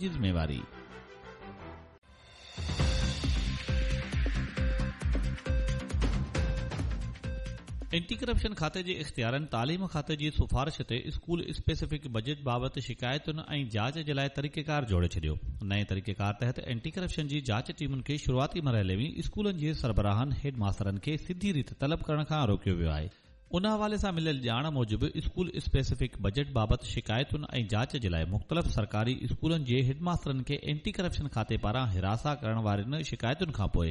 جي ذميواري. Anti corruption کاتي جي اختيارين تعليم کاتي جي سفارش تي اسڪول اسپيسفڪ بجيٽ بابت شڪايتن ۽ جاچ جي لاء طريقيڪار جوڙي ڇڏيو. نئين طريقيڪار تحت اينٽي ڪرپشن جي جاچ ٽيمن کي شروعاتي مرحلي ۾ اسڪولن جي سربراهن، هيڊ ماسترن کي سڌي ريت طلب ڪرڻ کان روڪيو ويو آهي. ان حوالي سان مليل ڄاڻ موجب اسڪول اسپيسفڪ بجيٽ بابت شڪايتن ۽ جاچ جي لاء مختلف سرڪاري اسڪولن جي هيڊماسترن کي اينٽي ڪرپشن کاتي پاران هراسان ڪرڻ وارين شڪايتن کانپوء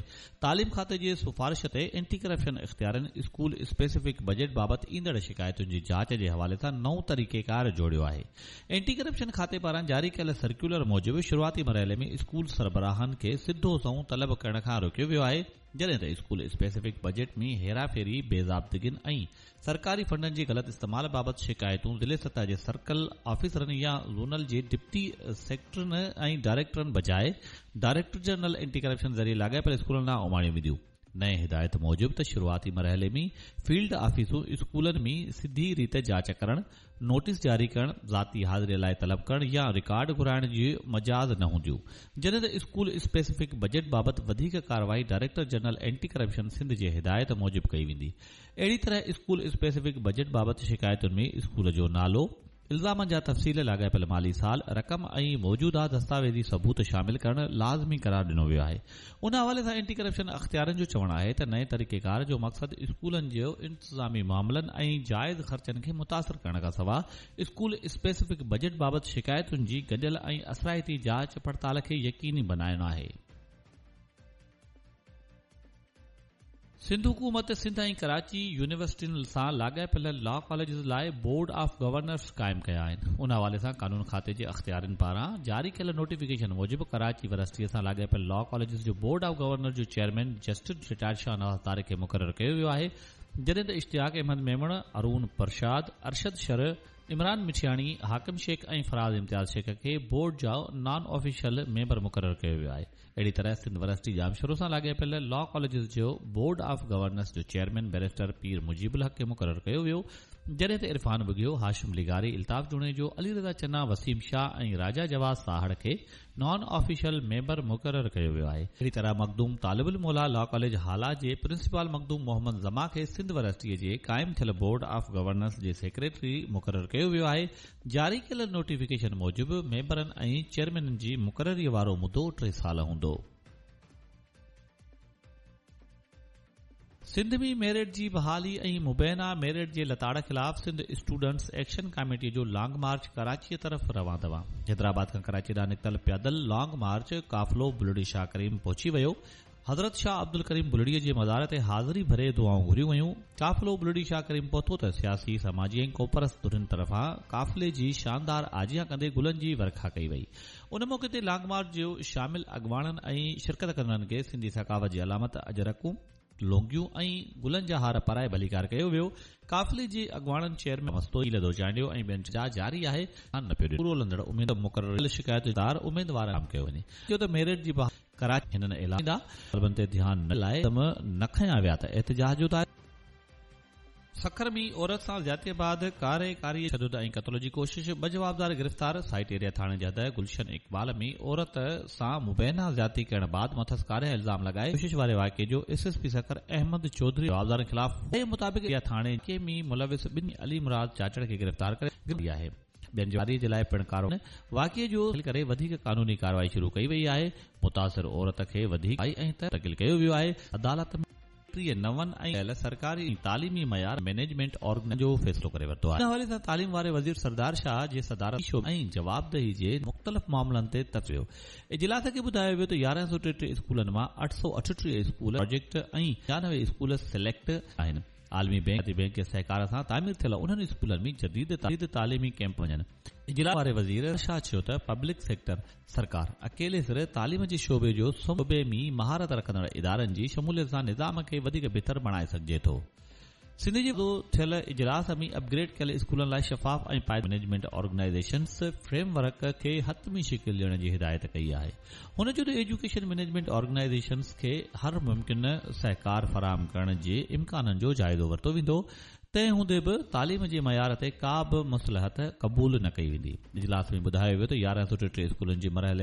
تعليم کاتي جي سفارش تي اينٽي ڪرپشن اختيارين اسڪول اسپيسفڪ بجيٽ بابت ايندڙ شڪايتن جي جاچ جي حوالي سان نئون طريقيڪار جوڙيو آهي. اينٽي ڪرپشن کاتي پاران جاري ڪيل سرڪيولر موجب شروعاتي مرحلي ۾ اسڪول سربراهن کي سڌو سنئون طلب ڪرڻ کان روڪيو ويو آهي، جڏهن ته اسڪول اسپيسفڪ بجيٽ ۾ هيراڦيري، بي ضابطگين ۽ سرڪاري فنڊن جي غلط استعمال بابت شڪايتون ضلعي سطح جي سرڪل آفيسرن يا زونل جي ڊپٽي سيڪريٽرين ۽ ڊائريڪٽرن بجاء ڊائريڪٽر جنرل اينٽي ڪرپشن ذريعي لاڳاپيل اسڪولن ڏانهن اماڻيون وينديون. نئين هدايت موجب ته شروعاتي مرحلي ۾ فيلڊ آفيسون اسڪولن ۾ سڌي ريت جاچ ڪرڻ، نوٽيس جاري ڪرڻ، ذاتي حاضري لاء طلب ڪرڻ يا رڪارڊ گهرائڻ جي مجاز نه هونديون. جڏهن ته اسڪول اسپيسفڪ بجيٽ بابت وڌيڪ ڪارروائي director general anti corruption Sindh جي هدايت موجب ڪئي ويندي. اهڙي طرح اسڪول اسپيسفڪ بجيٽ بابت شڪايتن ۾ اسڪول جو نالو، الزامن جا تفصيل، لاڳاپيل مالي سال، رقم ۽ موجوده دستاويزي ثبوت شامل ڪرڻ لازمي قرار ڏنو ويو آهي. ان حوالي سان اينٽي ڪرپشن اختيارين جو چوڻ آهي ته نئين طريقيڪار جو مقصد اسڪولن جي انتظامي معاملن ۽ جائز خرچن کي متاثر ڪرڻ کانسواء اسڪول اسپيسفڪ بجيٽ بابت شڪايتن جي گڏيل ۽ اثرائتي جاچ پڙتال کي يقيني بنائڻ آهي. سنڌ حڪومت سنڌ ۽ ڪراچي يونيورسٽين سان لاڳاپيل لا ڪاليجز لاء بورڊ آف گورنرز قائم ڪيا آهن. ان حوالي سان قانون کاتي جي اختيارين پاران جاري ڪيل نوٽيفڪيشن موجب ڪراچي ورسٽيء سان لاڳاپيل لا ڪاليجز جو بورڊ آف گورنر جو chairman justice retired Shahnawaz Tariq کي مقرر ڪيو ويو آهي جڏهن ته اشتياق احمد ميمڻ، ارون پرشاد، ارشد شر، عمران مٺياڻي، حاڪم شيخ ۽ فراز امتياز شيخ کي بورڊ جا نان آفيشل ميمبر مقرر ڪيو ويو آهي. اهڙي طرح سنڌ ورسٽي ڄامشورو سان لاڳاپيل لا ڪاليجز جو بورڊ آف گورنرس جو چيئرمين بئريسٽر پير مجيب الحق کي مقرر ڪيو ويو جڏهن ته عرفان ٻگهيو، هاشم لغاري، الطاف جوڻيجو، علي رضا چنا، وسيم شاهه ۽ راجا جواز ساهڙ کي نان آفيشل ميمبر مقرر ڪيو ويو آهي. اهڙي طرح مخدوم طالب الموليٰ لا ڪاليج هالا جي پرنسپال مخدوم محمد زمان کي سنڌ ورسٽيء جي قائم ٿيل بورڊ آف گورنرس جي سيڪريٽري مقرر ڪيو ويو آهي جاري ڪيل نوٽيفڪيشن موجب ميمبرن ۽ چيئرمينن جي مقرري وارو مدو ٽي سال هوندو. سنڌ ۾ ميرٽ جي بحالي ۽ مبينا ميرٽ جي لتاڙ خلاف سنڌ اسٽوڊنٽس ايڪشن ڪاميٽي جو لانگ مارچ ڪراچيء طرف روان دوان. حيدرآباد کان ڪراچي ڏانهن نڪتل پيادل لانگ مارچ قافلو بلڙي شاهه ڪريم پهچي ويو. حضرت شاهه عبدالڪريم بلڙيء جي مزار تي حاضري ڀري دعائون گهريون ويون. قافلو بلڙي شاهه ڪريم پهتو ته سياسي، سماجي ۽ قومپرست ڌرين طرفان قافلي جي شاندار آجيان ڪندي گلن جي ورکا ڪئي وئي. ان موقعي تي لانگ مارچ جي شامل اڳواڻن ۽ شرڪت ڪندڙن کي سنڌي ثقافت جي علامت اجرڪون، لونگيون ۽ گلن جا هار پارائي ڀليڪار ڪيو ويو. قافلي جي اڳواڻن چيئرمين مستوئي لڌو چانڊيو ۽ ٻين جا جاري آهي. نه پيو ڏنو. پورو لهندڙ اميد مقرر ڪيل شڪايتدار اميدوارن عام ڪيو وڃي. چيو ته ميرٽ جي بحالي. ڪراچي هنن اعلان ڪندا. طالبن تي ڌيان نه لاء قدم نه کنيا ويا ته احتجاج جو دائرو. سکر ۾ عورت سان زيادتي بعد ڪاري ڪاري تشدد ۽ قتل جي ڪوشش، ٻه جوابدار گرفتار، سائيٽ ايريا ٿاڻي جي حد گلشن اقبال ۾ عورت سان مبينا زيادتي ڪرڻ بعد مٿس ڪاري الزام لڳائي ڪوشش واري واقعي جو S S P Sukkur Ahmed Chaudhry جوابدارن خلاف مطابق ايريا ٿاڻي ۾ ملوث ٻن علي مراد چاچڙ کي گرفتار ڪري آهي. ٻين جي جي لاء پڻ ڪارو واقعي جو ڪري وڌيڪ قانوني ڪارروائي شروع ڪئي وئي آهي متاثر عورت کي وڌيڪ ۽ منتقل ڪيو ويو آهي عدالت ۾. ٽيهه نون ۽ ڪيل سرڪاري ۽ تعليمي معيار مئنيجمينٽ آرگنائيزيشن جو فيصلو ڪري ورتو آهي. ان حوالي سان تعليم واري وزير سردار شاهه جي صدارت ۾ ۽ جوابدهي جي مختلف معاملن تي تفصيلي اجلاس کي ٻڌايو ويو ته 1133 اسڪولن مان 838 اسڪول پراجيڪٽ ۽ 95 اسڪول سليڪٽ آهن. عالمي بينڪ بينڪ جي سهڪار سان تعمير ٿيل انهن اسڪولن ۾ جديد تعليمي ڪئمپ وڃن. اجلاس واري وزير شاهه چيو ته پبلڪ سيڪٽر سرڪار اڪيلي سر تعليم جي شعبي جو شعبي ۾ مهارت رکندڙ ادارن جي شموليت سان نظام کي وڌيڪ بهتر بڻائي سگهجي ٿو. سنڌ جي ٿيل اجلاس ۾ اپ گريڊ ڪيل اسڪولن لاء شفاف ۽ پائيدار مئنيجمينٽ آرگنائيزيشنز فريم ورڪ کي حتمي شڪل ڏيڻ جي هدايت ڪئي آهي. هن چيو ته ايجوڪيشن مئنيجمينٽ آرگنائيزيشنز کي هر ممڪن سهڪار فراهم ڪرڻ جي امڪانن جو جائزو ورتو ويندو. تنهن هوندي به تعليم جي معيار تي ڪا به مصلحت قبول نه ڪئي ويندي. اجلاس ۾ ٻڌايو ويو ته 1133 اسڪولن جي مرحلي